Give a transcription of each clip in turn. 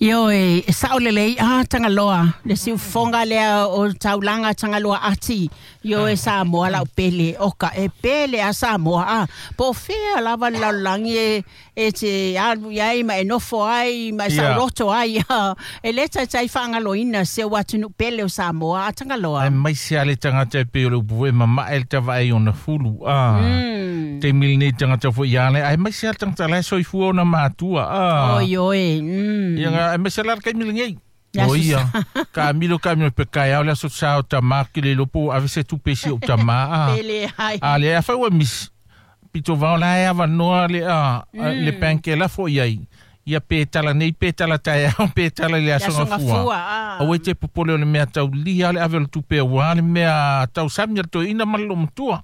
Ioe, e sao lelei a Tagaloa, le siufofoga lea o taulaga Tagaloa ati. Ioe Samoa lau pele, oka e pele a Samoa a. Po o fea lava le lalolagi e e te alu i ai ma e nofo ai ma e saoloto ai. E le taitai faagaloina si ou atunuu pele o Samoa a Tagaloa. Aemaise lava le tagata e pei o le upu foi e mamae le tavae i ona fulu. A. Taimi lenei tagata foi ia le aemaise lava le tagata la e soifua ona matua. A. Oi oi. Ia aemaise la le taimi lenei. O ia, ka milo ka milo pe kai au le aso sa o tama ke le lopo ave se tupe si o tama a. Pele ai. A le afa ua misi. Pito vao la e avanoa le a le penke la fo iai. Ia pe tala nei pe tala taeao pe tala i le aso gafua. Aua e te popole o le mea taulia le ave o le tupe aua le mea tausami a le toeaina ma le loomatua.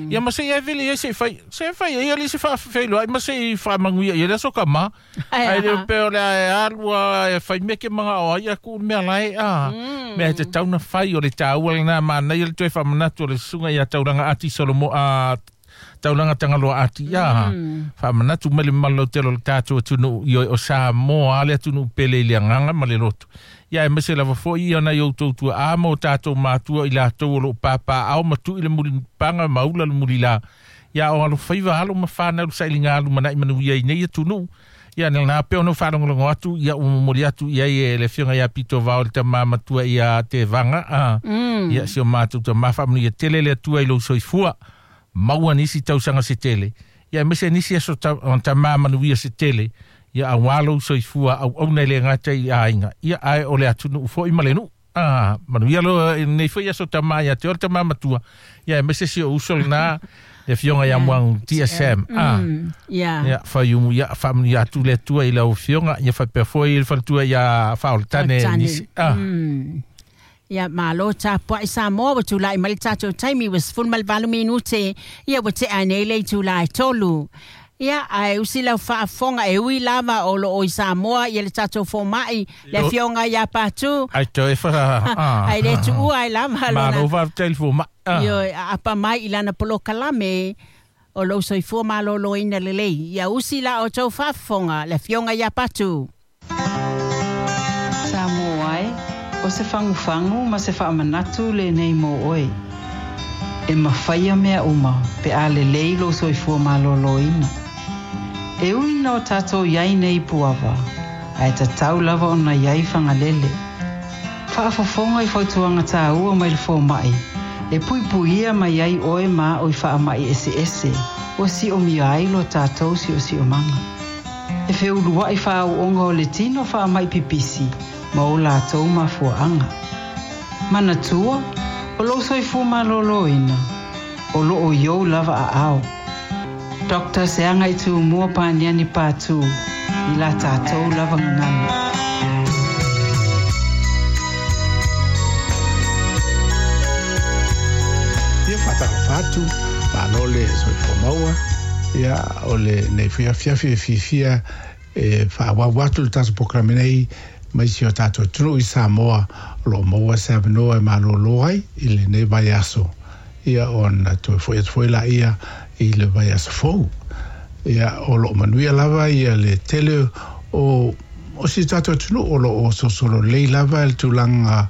Ia ma se i vele ai se i fai se fai ai ali se faafeiloai ma se i faamanuia i le aso tama. Ai le pe o le ae alu a e fai mea ke manga o ai aku mea lae a. Mea e te tauna fai o le tāua lena manaia le toe faamanatu o le susuga ia Taulaga Ati Solomo a Taulaga Tagaloa Ati ia. Faamanatu mai le mamalu lautele o le tatou atunuu i o Samoa le atunuu pele i le agaga ma le loto. Ia aemaise lava foi ia nai outou tuaa ma o tatou matua i latou o loo papaaao ma tui le mulipaga ma ula le mulila. Ia o alofaiva alo ma whanau le sailiga a lumanai manuia i nei atunuu. Ia na pe ono whaalongolongo atu, ia umomoli atu ia i le afioga ia Pito Vao le tama matua ia te vanga. Ia si o mātou tama whaamanuia tele le Atua i lou soifua. Maua nisi tausaga se tele. Ia aemaise nisi aso tama manuia se tele. Ia auā lou soifua auauna i le gata i aiga. Ia ae o le atunuu foi ma le nuu. Manuia lo nei foi aso tama ia te o le tama matua. Ia aemaise si o uso lena le afioga ia Muagu TSM. Ia faiumu ia faamanuia atu le Atua i lau afioga. Ia faapea foi le faletua ia Faaolatane nisi. Ia malo tapuai Samoa ua tulai mai le tatou taimi ua 18 minute ia ua tea nei le itula e 3. Ia ae usi lau faafofoga e ui lava o loo i Samoa ia le tatou fomai le afioga ia Patu. Ai toe fa. Ai le tuua ai lava lona. Malo faafetai le fomai. Ioe aapa mai i lana polokalame o lou soifua malōlōina lelei. Ia usi la outou faafofoga le afioga ia Patu. Samoa e, o se fagufagu ma se faamanatu lenei mo oe. E mafai mea uma pe a lelei lou soifua malōlōina. E ui ina o tatou iai nei i Puava, ae tatau lava ona iai Fagalele. Faafofoga i fautuaga tāua mai le fomai, e puipuia mai ai oe ma a'o i faamai eseese ua siomia ai lo tatou siosiomaga. E feulua'i faaauoga o le tino faamai pipisi ma o latou mafuaaga. Manatua, o lou soifua malōlōina, o loo i ou lava aao. Dr. Seagaitūmua Paniani Patu i la tatou lava gagana. Ia faatalofa atu, malo le soifua maua, ia o lenei foi afiafi e fiafia e faaauau atu le tatou polokalame nei mai si o tatou atunuu i Samoa o lo o maua se avanoa e malōlō ai i lenei vaiaso ia ona toe foi atu foi laia i le vaiaso fou. Ia o lo o manuia lava ia le tele o o si tatou atunuu o lo o solosolo lelei lava le tulaga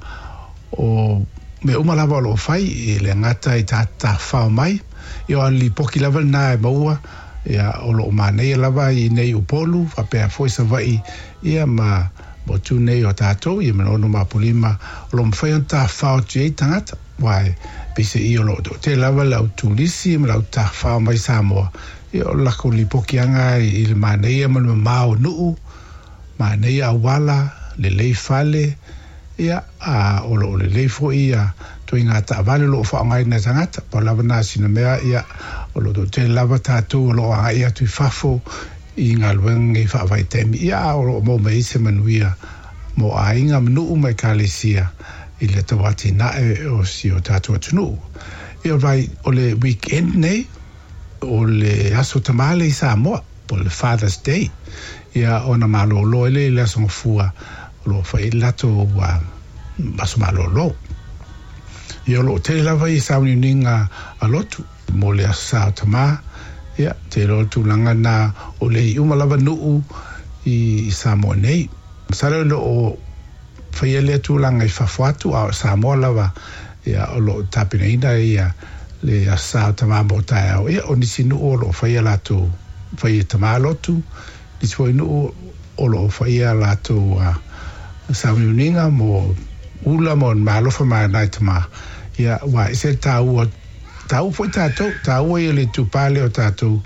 o mea uma lava o lo o fai e le gata i tafafao mai ia o le lipoti lava lena e maua ia o lo o manaia lava i nei Upolu faapea foi Savaii ia ma motu nei o tatou ia ma Manono ma Apolima o lo o mafai ona tafafao atu i ai tagata aua e peiseai o lo o toatele lava le au turisi ma le au tafafao mai Samoa ia o le latou lipotiaga i le manaia ma le mamao o nuu manaia auala lelei fale ia a o lo o lelei foi ia ituaiga taavale o lo o faaaogaina e tagata pau lava na sina mea ia o lo o toatele lava tatou o lo o agai atu i fafo i galuega nei faavaitaimi ia a o lo o maua mai ai se manuia mo aiga ma nuu ma ekalesia i le tauatinae o si o tatou atunuu. Ia vai o le weekend nei o le aso tama lea i Samoa po o le Father's Day ia ona malōlō ai lea i le aso Gafua o lo o fai ai le latou aso malōlō. Ia o lo o tele lava ia sauniuniga a lotu mo le aso sa o tama ia te iloa le tulaga lena o le i uma lava nuu i Samoa nei. Masalo o loo faia lea tulaga i fafo atu, a o Samoa lava, ia, o loo tapenaina ia le Aso Sa o Tamā mo taeao. Ia, o nisi nuu o loo faia latou fai e tamā lotu, nisi foi nuu o loo faia latou sauniuniga mo ula mo malofa ma nai tamā. Ia, ua ese le taua, taua foi tatou, taua ia le itupa lea o tatou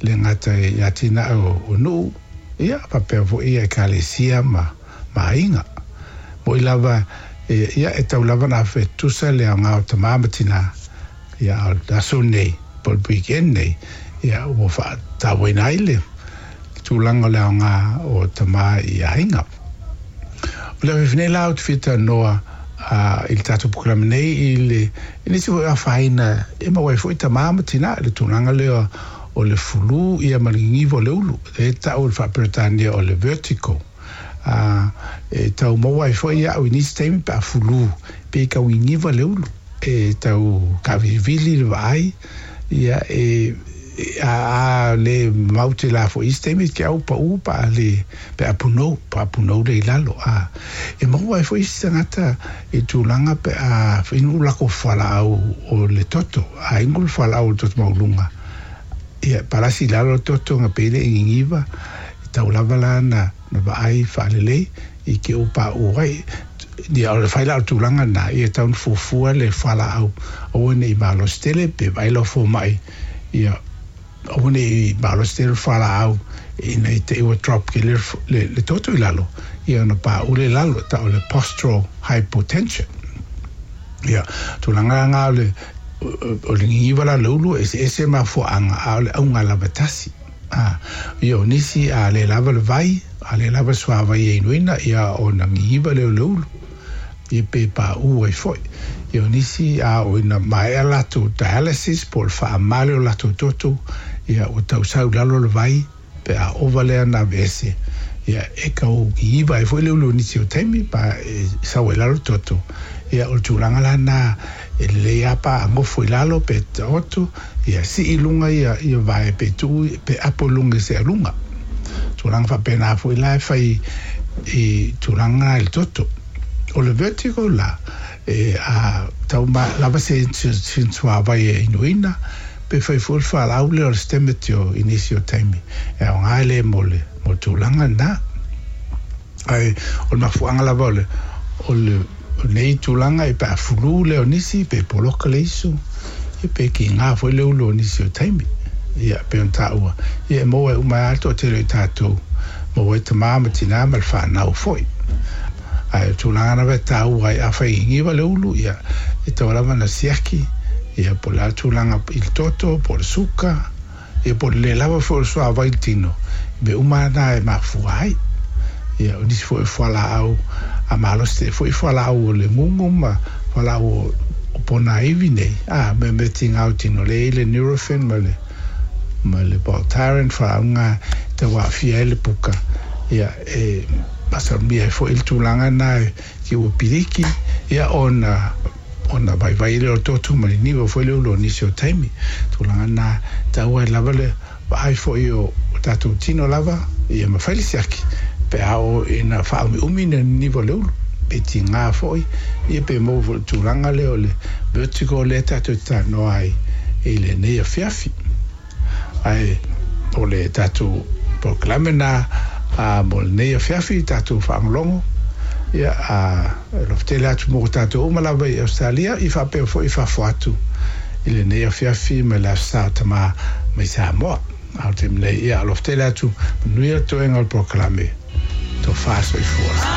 le gata i atinae o nuu, ia, faapea foi ia ekalesia ma aiga. Moʻi lava, ia, e tau lava na fetusa le aoga o tamā ma tinā. Ia, a o le aso nei, po o le weekend nei, ia, ua faatauaina ai le tulaga o le aoga o tamā i aiga. O le afiafi nei la ou te fia talanoa i le tatou polokalame nei i le i nisi foi o afaina e maua ai foi tamā ma tinā i le tulaga lea o le fulu ia ma le gigiva o le ulu, lea e tau i le faa-Peretania o le vertigo. E tau maua ai foi au i nisi taimi pe a fulu, pe tau gigiva le ulu, e tau kaavilivili le vaai, ia e a le mamau tele lava foi i isi taimi ke au paū pa a le pe a punou, pa a punou le i lalo. A e maua ai foi isi tagata i tulaga pe a inu lako fualaau o le toto, a inu le fualaau o le toto maualuga, ia palasi i lalo le toto na pei le i gigiva, e tau lava la na vaai faalelei i ke o paū ai. Ia, o le fai la o le tulaga lena, ia e tau ona fuafua le fualaau, aua ne i malosi tele pe vaai lau fomai, ia aua ne i malosi tele le fualaau ina i te i ua drop ke le toto i lalo, ia ona paū lea i lalo, e tau o le postural hypotension. Ia, tulaga la o le o le gigiva la o le ulu, e eseese mafuaaga, a o le auga lava e tasi. A, ia o nisi a le lava le vai, a le lava le suavai e inuina, ia ona gigiva lea o le ulu, ia pe paū ai foi. Ia o nisi a oo ina maea latou dialysis po o le faamama lea o latou toto, ia ua tau sau i lalo le vai, pe a ova lea na aveese, ia e tau gigiva ai foi le ulu i nisi o taimi, pa e sau ai i lalo le toto. Ia o le tulaga la lena, e lelei lava pa a gofo i lalo pe taoto, ia sii i luga ia ia vae pe tuu pe apo i luga i se aluga. Tulaga faapena foi la e fai i tulaga i le toto. O le vertigo la, e a tau ma lava se suavai e inuina, pe fai foi le fualaau lea o le Stemetil i nisi o taimi. E aoga lea mo le mo le tulaga lena. Ae o le mafuaaga lava o le o le o lenei tulaga e pe a fulu lea o nisi pe poloka le isu, ia pe kigā foi le ulu o nisi o taimi. Ia pei ona taua, ia e maua ai uma ai lava le toatele o i tatou, maua ai tamā ma tinā ma le fanau foi. Ae o le tulaga lava e taua ai afai e gigiva le ulu, ia e tatau lava ona siaki, ia po o le a le tulaga i le toto, po o le suka, ia po o le le lava foi o le suavai i le tino, mea uma lava na e mafua ai. Ia, o nisi foi o fualaau a malosi tele foi fualaau o le gugu ma fualaau o ponaivi nei, a me mea tigā o tino lea e i ai le Nurofen ma le ma le Voltaren, fualaau na e tau aafia ai le puka. Ia, e masalomia ai foi le tulaga lena ki ua piliki, ia, ona ona vaivai lea o le toto ma le niva foi lea o nisi o taimi. Tulaga lena e taua ai lava le vaai foi o tatou tino lava, ia mafai le siaki pe a oo ina faaumiumi le niniva o le ulu, pe tigā foi, ia pe maua foi i le tulaga lea o le vertigo lea tatou te talanoa ai i lenei afiafi. Ae o le tatou polokalame lena mo lenei afiafi, tatou faalogologo, ia, e alofa tele atu mo tatou uma lava i Ausetalia, i faapea foi i fafo atu i lenei afiafi ma le Aso Sa o Tamā mai Samoa. A o le taimi nei, ia, alofa tele atu, manuia le toega o le polokalame, tofa soifua.